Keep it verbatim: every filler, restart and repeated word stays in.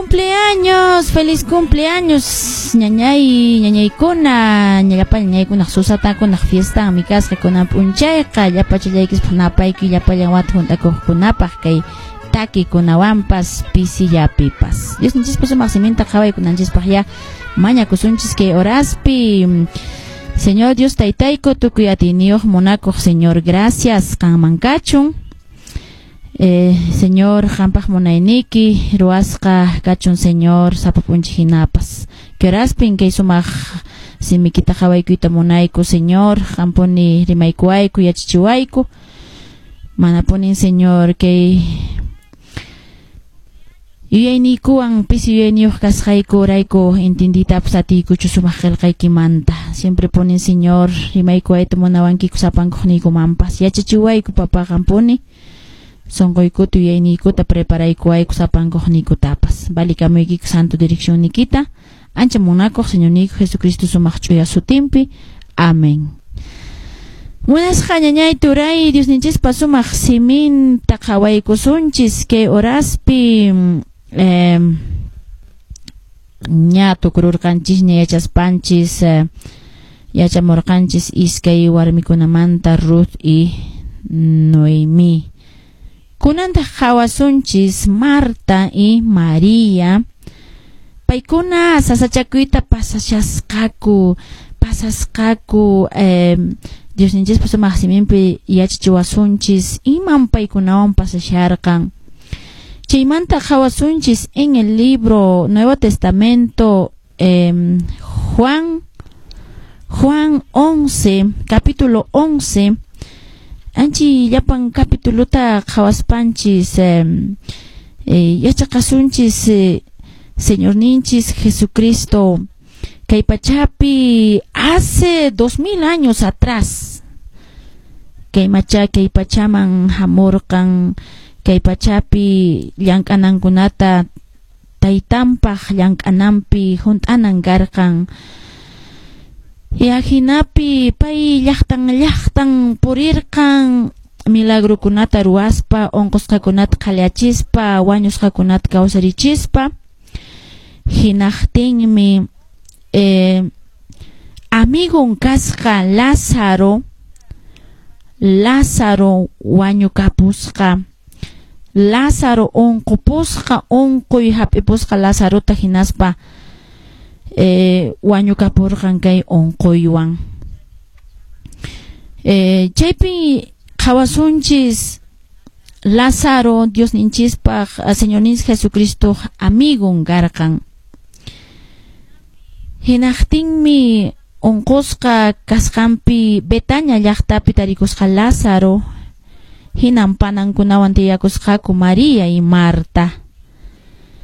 Cumpleaños, feliz cumpleaños, ñañay, ñañaykuna, llapa ñañaykuna, susatakuna fiesta mi kasqa kunan p'unchayqa, llapachallaykispaq napayki llapallan wata hunt'akuqkunapaq kay takikunawanpas pisillapipas. Diosninchispa sumaq siminta qhawaykunanchispaq ya mañakusunchis kay horaspi. Señor Dios taytayku, tukuy atiyniyuq munakuq Señor, gracias qanman kachun. Eh, Señor, qampaq munayniki, ruwasqa kachun Señor, sapa p'unchay hinapas. Kay horaspin kay sumaq simikita qhawaykuyta munayku, Señor, qampuni rimaykuwayku, yachachiwayku. Manapunin, Señor, kay yuyayniykuwan pisi yuyayniyuq kasqayku rayku intinditapas atiykuchu sumaq qillqaykimanta. Siempre punin, Señor, rimaykuwayta munawankiku sapankuqniykumanpas. Yachachiwayku, papá, qampuni. Sonqoykuta yuyayniykuta preparaykuwayku sapankuqniykutapas. Valikamuykiku santo direccionnikita. Ancha munakuq Señorniyku Jesucristo sumaq ch'uya sutinpi. Amén. Munasqa ñañay turay, Diosninchispa sumaq siminta qhawaykusunchis kay horaspi eh, ña tukururqanchisña yachaspanchis eh, yachamurqanchis iskay warmikunamanta Ruth y Noemí. Kunantaq qhawasunchis Marta y María. Paykuna sasachakuyta pasashasqaku, pasasqaku eh, Diosninchispa sumaq siminpi yachachiwasunchis iman paykunawan pasasharqan. Chaymanta qhawasunchis en el libro Nuevo Testamento, eh, Juan, Juan once, capítulo once, anchi llapan capituluta qhawaspanchis eh, eh, yachaqasunchis eh, Señorninchis Jesucristo kay pachapi hace dos mil años atrás kay macha kay pachaman hamurqan kay pachapi llank'anankunata taytanpaq llank'ananpi hunt'anan karqan. Y ajinapi pay llaqtan llaqtan purirqan milagrukunata ruwaspa, unqusqakunata qhallachispa, wañusqakunata kawsarichispa. Hinaqtinmi eh, amigon kasqa Lázaro, Lázaro wañukapusqa, Lázaro unqupusqa, unquy hap'ipusqa Lázarota hinaspa eh, wañukapurqan kay unquywan. Eh, chaypi qhawasunchis Lázaro Diosninchispaq Señorninchis Jesucristo amigon karqan. Hinaqtinmi unqusqa kasqanpi Betania llaqtapi tarikusqa Lázaro, hinan panankunawan tiyakusqaku María y Marta.